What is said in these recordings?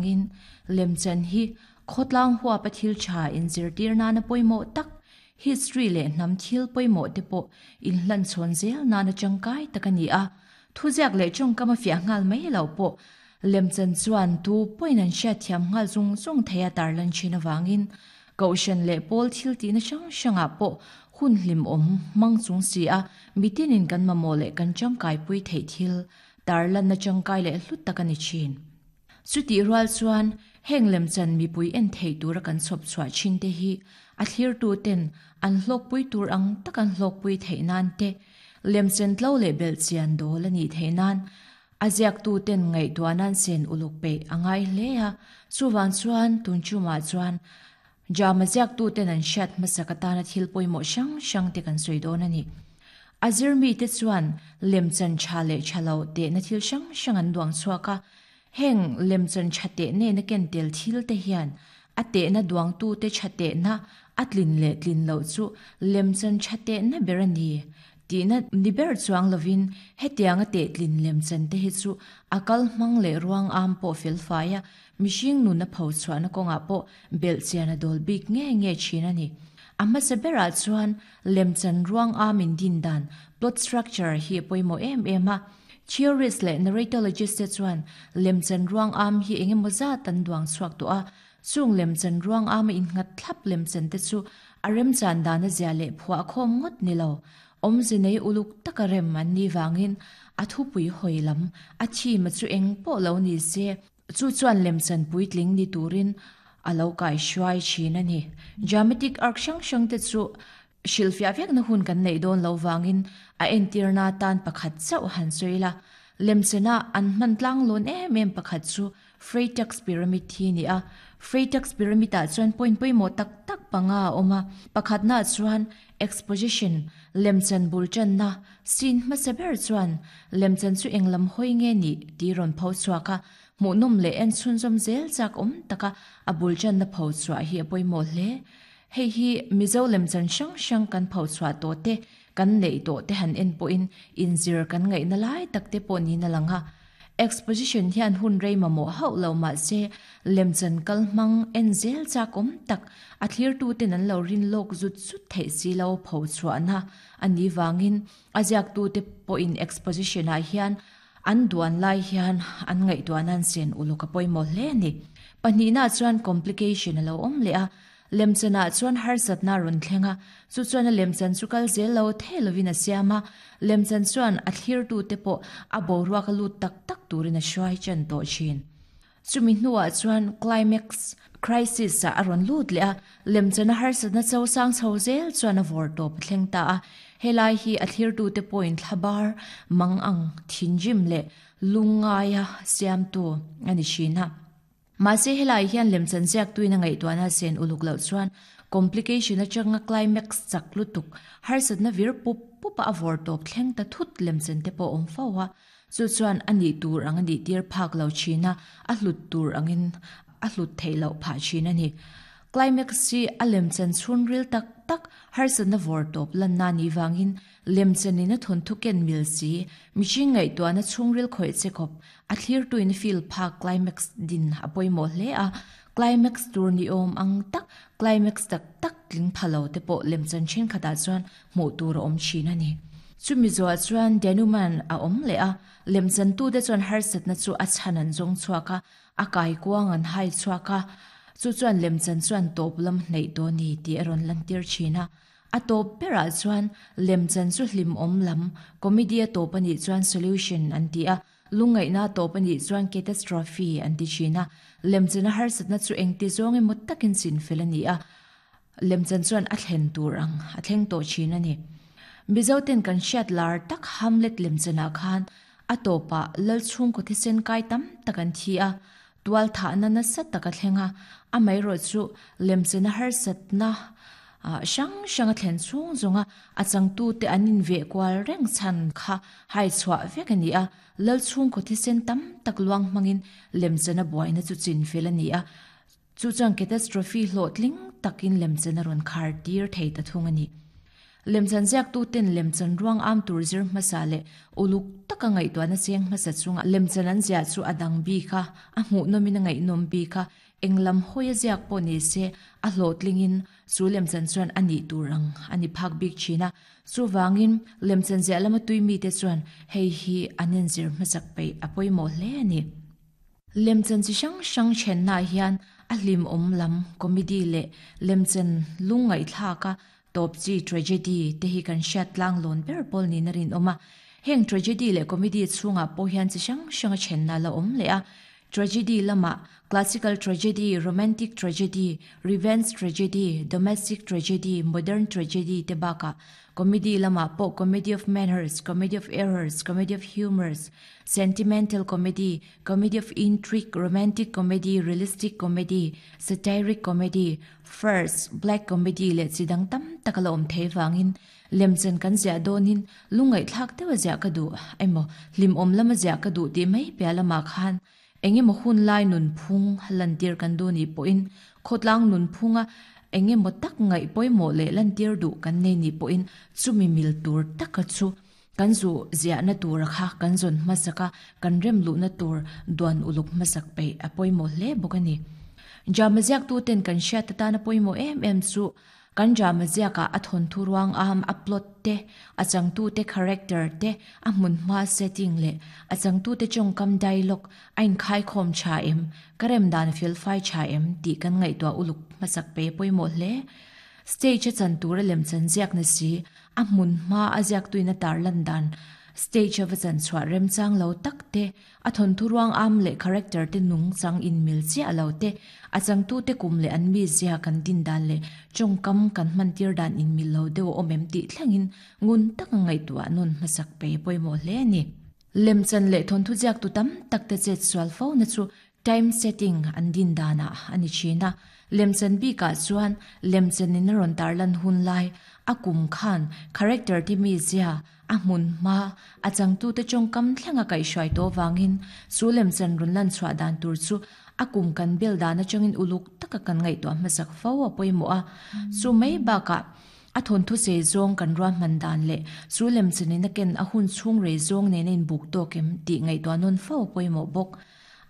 angin lemchan hi khawtlang huapa thil tha inzirtir nana pawimawh tak, history leh hnam thil pawimawh te pawh inhlanchhawn zel nana tangkai tak a ni a. Thuziak leh tawngkam a fiah nghal mai lo pawh lemchan chuan tu pawhin an hriatthiam nghal zung zung thei a tarlan thin avangin Kohhran leh pawl thil tihna hrang hrangah pawh hun hlimawm hmang chung si a mitinin kan mamawh leh kan tangkaipui theih thil tarlanna tangkai leh hlut tak a ni thin. Chutih rual chuan heng lemchan mipui en theih tura kan chhawp chhuah thin te hi a thlirtu ten an hlawkpui tur ang tak an hlawkpui theih nan te, lemchan tlo leh belhchian dawl a nih theih nan a ziaktu ten ngaihtuah nan sen uluk peih a ngai hle a, chuvang chuan tun chumah chuan Drama ziaktu ten an hriat hmasak atana thil pawimawh hrang hrang te kan sawi dawn a ni. A zirmite chuan lemchan tha leh tha lo tehna thil hrang hrang an duang chhuak a, heng lemchan tha teh nena ken tel thil te hian a tehna duangtute tha tehna a tlin leh tlin loh chu lemchan tha tehna ber a ni tihna ni ber chuang lovin hetianga tehtlin lemchan te hi chu a kal hmang leh ruang am pawh felfai a, Mihring nun a pho chhuahna kawngah pawh belhchian a dawl bik nge nge thin a ni. A hmasa berah chuan lemchan ruang am in din dan, plot structure, hi a pawimawh em em a. Theorist leh narratologist te chuan lemchan ruang am hi eng emaw zat an duang chhuak tawh a, chung lemchan ruang ama innghat thlap lemchan te chu a remchan dana zia leh phuah khawm ngawt ni lo, awmze nei uluk taka rem an nih vangin a thupui hawi lam a theme chu eng pawh lo ni se. Chu chuan lemchan puitling ni turin a lo kaihruai thin a ni. Dramatic arc hrang hrang te chu hrilhfiah vekna hun kan neih dawn lo vangin a entirna tan pakhat chauh han sawi la. Lemchana an hman tlanglawn em em pakhat chu Freytag's Pyramid hi a ni a. Freytag's Pyramid ah chuan point pawimawh tak tak panga a awm a. Pakhatnaah chuan exposition, lemchan bul tanna, Scene hmasa ber chuan lemchan chu eng lam hawi nge nih tih rawn pho chhuak a, hmuhnawm leh en chhunzawm zel chak awm taka a bul tanna pho chhuah hi a pawimawh hle. Hei hi Mizo lemchan hrang hrang kan pho chhuah tawh te, kan neih tawh te han en pawhin inzir kan ngaihna lai tak te pawh niin a lang a. Exposition hian hun rei mamawh hauh lo mahse lemchan kal hmang en zel chak awm tak a thlirtuten an lo rin lawk zut zut theih si lo pho chhuahna A ni vangin a ziaktute pawhin exposition-ah hian an duan lai hian an ngaihtuah nan sen uluk a pawimawh hle a ni. Pahnihnaah chuan complication a lo awm leh a, lemchanah chuan harsatna a rawn thleng a, chu chuan a lemchan chu kal zel lo thei lovin a siam a, lemchan chuan a thlirtute pawh a boruak a lut tak tak turin a hruai ṭan tawh ṭhin. Chumi hnuah chuan climax crisis ah a rawn lut leh a, lemchana harsatna cho sang chho zel chuan a vawr tawp a thleng ta a. Helai hi a thlirtute pawhin thlabar mang ang thinrim leh lungngaia siamtu a ni thin a. Mahse helai hian lemchan ziaktuin a ngaihtuahna sen uluk loh chuan complication atanga climax chak lutuk harsatna vir pup pupa a vawr tawp thleng ta thut lemchan te pawh a awm fo a. Chu chuan a nih tur ang a nih tir phak lo thin a, a hlut tur angin a hlut theih loh phah thin a ni. Climax hi a lemchan chhunril tak tak harsatna vawr tawp lanna a nih vangin lemchanin a thawnthu ken mil si, mihring ngaihtuahna chhungril khawih che khawp a thlirtuin feel phak climax din a pawimawh hle a, climax tur ni awm ang tak climax tak tak tling pha lo te pawh lemchan thenkhatah chuan hmuh tur a awm thin a ni. Chumi zuah chuan Denouement a awm leh a, lemchantute chuan harsatna chu a chhan an zawng chhuak a, a kaikuang an hai chhuak a, chu chuan lemchan chuan tawp lam hnaih tawh a ni tih a rawn lantir thin a. A tawp berah chuan lemchan chu hlimawm lam, comedy a tawp a nih chuan solution an ti a, lungngaihna a tawp a nih chuan catastrophe an ti thin a, lemchana harsatna chu engti zawng emaw takin chinfel a ni a, Lemchan chuan a thlen tur ang a thleng tawh thin a ni. Mizoten kan hriat lar tak Hamlet lemchanah khan a tawpah lal chhungkaw thisen kai tam tak an thi a, tual thahna nasa tak a thleng a, amaherawh chu lemchana harsatna hrang hrang a thlen chhung zawnga a changtute an inveh kual reng chhan kha hai chhuah vek a ni a, lal chhungkaw thisen tam tak luang hmangin lemchana buaina chu chinfel a ni a. Chu chuan catastrophe hlawhtling takin lemchen a rawn khar tir thei ta thung a ni. Lemchan ziaktuten lemchan ruang am tur zir hmasa leh uluk taka ngaihtuahna cheng hmasa chunga lemchan an ziah chu a dang bik a, a hmuhnawmin a ngaihnawm bik a, eng lam hawi a ziak pawh ni se a hlawhtlingin chu lemchan chuan a nih tur ang a ni phak bik thin a. Chuvangin lemchan ziah lama tui mite chuan hei hi an inzir hmasak peih a pawimawh hle a ni. Lemchan chi hrang hrang thennaah hian a hlimawm lam comedy leh lemchan lungngaihthlaka tawp chi tragedy te hi kan hriat tlang lawn ber pawl niin a rinawm a. Heng tragedy leh comedy chhungah pawh hian chi hrang hranga thenna a la awm leh a. Tragedy lamah classical tragedy, romantic tragedy, revenge tragedy, domestic tragedy, modern tragedy te bakah comedy lamah pawh comedy of manners, comedy of errors, comedy of humours, sentimental comedy, comedy of intrigue, romantic comedy, realistic comedy, satiric comedy, farce, black comedy leh chi dang tam tak a la awm thei vangin lemchan kan ziah dawnin lungngaihthlak deuh a ziah ka duh emaw hlimawm lama ziah ka duh tih mai piah lamah khan eng emaw hun lai nunphung lantir kan duh nih pawhin khawtlang nunphunga eng emaw tak ngaih pawimawh leh lantir duh kan nei nih pawhin chumi mil tur taka chu Kan zu ziahna tura kha kan zawn hmasak a, kan rem luhna tur duan uluk hmasak peih a pawimawh hle bawk a ni. Drama ziaktuten kan hriat atana pawimawh em em chu kan drama ziakah a thawnthu ruang am, a plot te, a changtute character te, a hmunhma setting leh a changtute tawngkam dialogue a inkhaikhawm tha em, ka rem dan felfai tha em tih kan ngaihtuah uluk hmasak peih a pawimawh hle. Stage a chan tura lemchan ziak ni si, A hmun hma a ziaktuin a tarlan dan stage a va chan chhuah remchang lo tak te, a thawnthu ruang am leh character te nungchang inmil chiah lo te, a changtute kum leh an mizia kan din dan leh tawngkam kan hmantir dan inmil lo deuh a awm em tih thlengin ngun taka ngaihtuah nawn hmasak pe pawimawh hle a ni. Lemchan leh thawnthu ziaktu tam tak te chet sual fo na chu Time setting an din danah a ni thin a, lemchan bikah chuan lemchanin a rawn tarlan hun lai, a kum khan character te mizia, a hmun hma, a changtute tawngkam thlenga kaihhruai tawh vangin chu lemchan rawn lan chhuah dan tur chu a kum kan bel dan atangin uluk taka kan ngaihtuah hmasak fo a pawimawh a. Chu mai bakah a thawnthu sei zawng kan ruahman dan leh chu lemchanin a ken a hun chhung rei zawng nena inbuk tawk em tih ngaihtuah nawn fo a pawimawh bawk.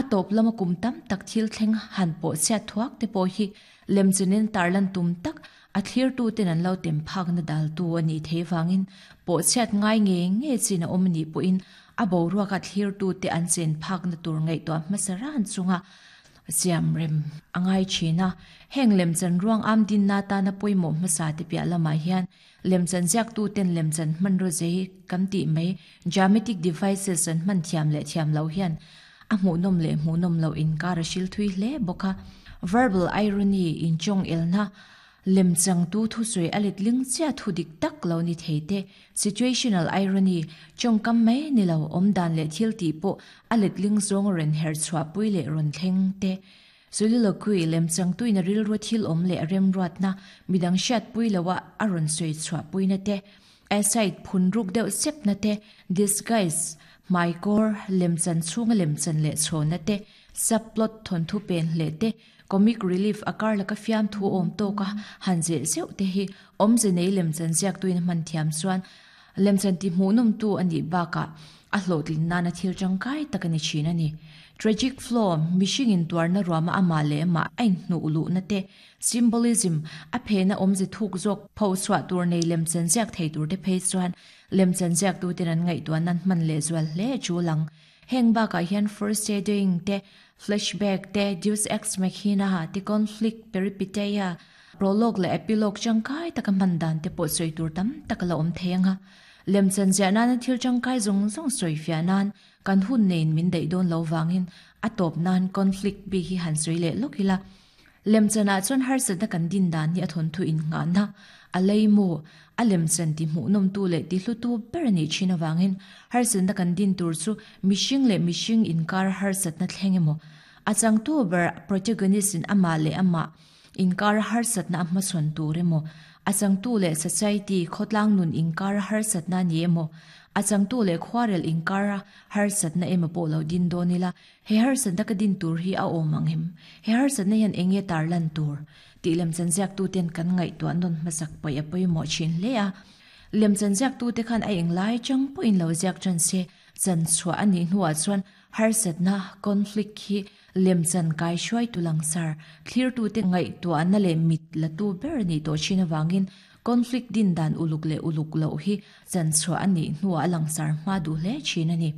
A tawp lama kum tam tak thil thleng han pawh chhiat thuak te pawh hi lemchunin tarlan tum tak a thlirtuten an lo tem phakna daltu a nih theih vangin pawh chhiat ngai ngei ngei chin a awm a nih pawhin a boruaka thlirtute an chen phakna tur ngaihtuah hmasa ran chunga siam rem a ngai thin a. Heng lemchan ruang am dinna atana pawimawh hmasa te piah lamah hian Lemchan ziaktuten lemchan hmanraw zei kan tih mai dramatic devices an hman thiam leh thiam loh hian a hmuhnawm leh hmuhnawm loh inkar a hril thui hle bawk a. Verbal irony inchawng elna lemchangtu thusawi a letling chiah thu dik tak lo ni thei te, situational irony tawngkam mai ni lo awmdan leh thil tih pawh a letling zawng rawn herh chhuahpui leh rawn thleng te, Soliloquy, lemchangtuin a rilru thil awm leh a remruatna, midang hriatpui loha a rawn sawi chhuahpuina te, aside, phun ruk deuh sepna te, disguise, hmaikawr, lemchan chhunga lemchan leh chhawna te, subplot, thawnthu pen hleh te, comic relief, a kar laka fiamthu awm tawka han zeh zeuh te hi awmze nei lemchan ziaktuin a hman thiam chuan lemchan tihmuhnawmtu a nih bakah a hlawhtlin nana thil tangkai tak a ni thin a ni. Tragic flaw, mihring intuarna ruama amah leh amah a inhnuh luhna te, symbolism, a phena awmze thuk zawk pho chhuah tur nei lemchan ziak thei tur te phei chuan lemchan ziaktuten an ngaihtuah nan hman leh zual hle a tul ang. Heng bakah hian foreshadowing te, flashback te, deus ex machina te, conflict, peripeteia, prologue leh epilogue tangkai taka hman dan te pawh sawi tur tam tak a la awm thei ang a. Lemchan ziah nana thil tangkai zawng zawng sawi fiah nan kan hun neiin min daih dawn lo vangin a tawp nan conflict bik hi han sawi leh lawk ila. Lemchanah chuan harsatna kan din dan hi a thawnthu innghahna, a leimu, a lemchan ti hmuhnawmtu leh ti hlutu ber a nih thin avangin harsatna kan din tur chu mihring leh mihring inkar harsatna thleng emaw, a changtu ber protagonist in amah leh amah Inkar harsatna a hmachhawn tur emaw, a changtu leh society, khawtlang nun inkar harsatna a ni emaw, a changtu leh khuarel inkar harsatna emaw pawh lo din dawn ila, he harsatna ka din tur hi a awm ang em? He harsatna hian eng nge tarlan tur? tih lemchan ziaktuten kan ngaihtuah nawn hmasak paih a pawimawh thin hle a. Lemchan ziaktute khan a englai chang pawhin lo ziak tan se, chan chhuah a nih hnuah chuan harsatna, conflict, hi lemchan kaihruaitu langsar, thlirtute ngaihtuahna leh mit latu ber a nih tawh thin avangin conflict din dan uluk leh uluk loh hi chan chhuah a nih hnuah a langsar hma duh hle thin a ni.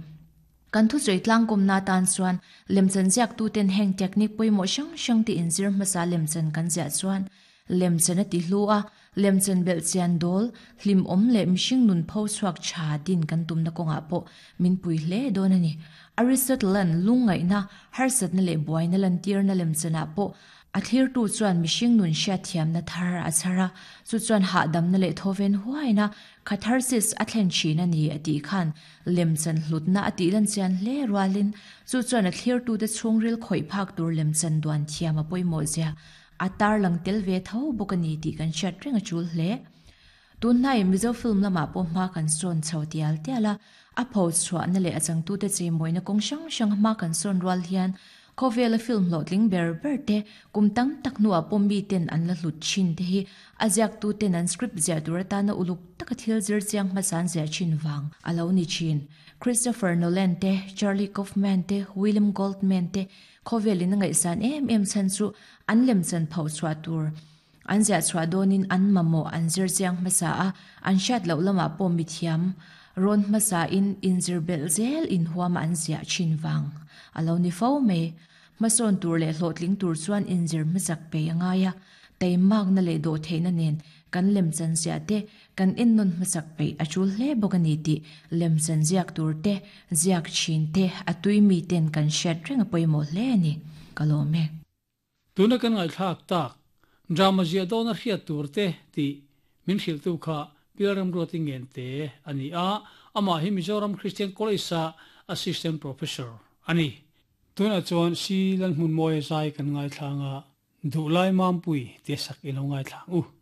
Kan thusawi tlangkawmna atan chuan lemchan ziaktuten heng technique pawimawh hrang hrang te inzir hmasa lemchan kan ziah chuan lemchan a ti hlu a, lemchan belh chian dawl, hlimawm leh mihring nun pho chhuak tha din kan tumna kawngah pawh min pui hle dawn a ni. Aristotle-a'n lungngaihna, harsatna leh buaina lantirna lemchanah pawh A thlirtu chuan mihring nun hriatthiamna thar a chhar a, chu chuan hahdamna leh thawven huaina, catharsis, a thlen thin a ni a tih khan lemchan hlutna a tih lan chian hle rualin chu chuan a thlirtute chhungril khawih phak tur lemchan duan thiam a pawimawh zia a tarlang tel ve tho bawk a ni tih kan hriat reng a tul hle. Tunhnai Mizo film lamah pawh hma kan sawn chho tial tial a, a pho chhuahna leh a changtute cheimawina kawng hrang hrang hma kan sawn rual hian khawvela film hlawhtling ber ber te kum tam tak hnuah pawh miten an la hlut thin te hi a ziaktuten an script ziah tur atana uluk taka thil zir chiang hmasa an ziah thin vang a lo ni thin. Christopher Nolan te, Charlie Kaufman te, William Goldman te khawvelin a ngaihsan em em chhan chu an lemchan phoh chhuah tur An ziah chhuah dawnin an mamawh an zir chiang hmasa a, an hriat loh lamah pawh mithiam rawn hmasain inzir belh zel inhuama an ziah thin vang a lo ni fo mai. Hmasawn tur leh hlawhtling tur chuan inzir hmasak pei a ngai a, teimakna leh dawhtheihna nen kan lemchan ziah te kan ennawn hmasak peih a tul hle bawk a ni tih lemchan ziak tur te, ziak thin te, a tui miten kan hriat reng a pawimawh hle a ni. Ka lawm e. Tuna kan ngaihthlak tak, drama ziah dawna hriat tur te tih min hrilhtu kha Pilram Ruati Ngente a ni a, amah hi Mizoram Christian College-a Assistant Professor a ni. Tunah chuan Si Lalhmunmawia zai kan ngaithlang a, Duhlai Mampui tia sak i lo ngaithlang u.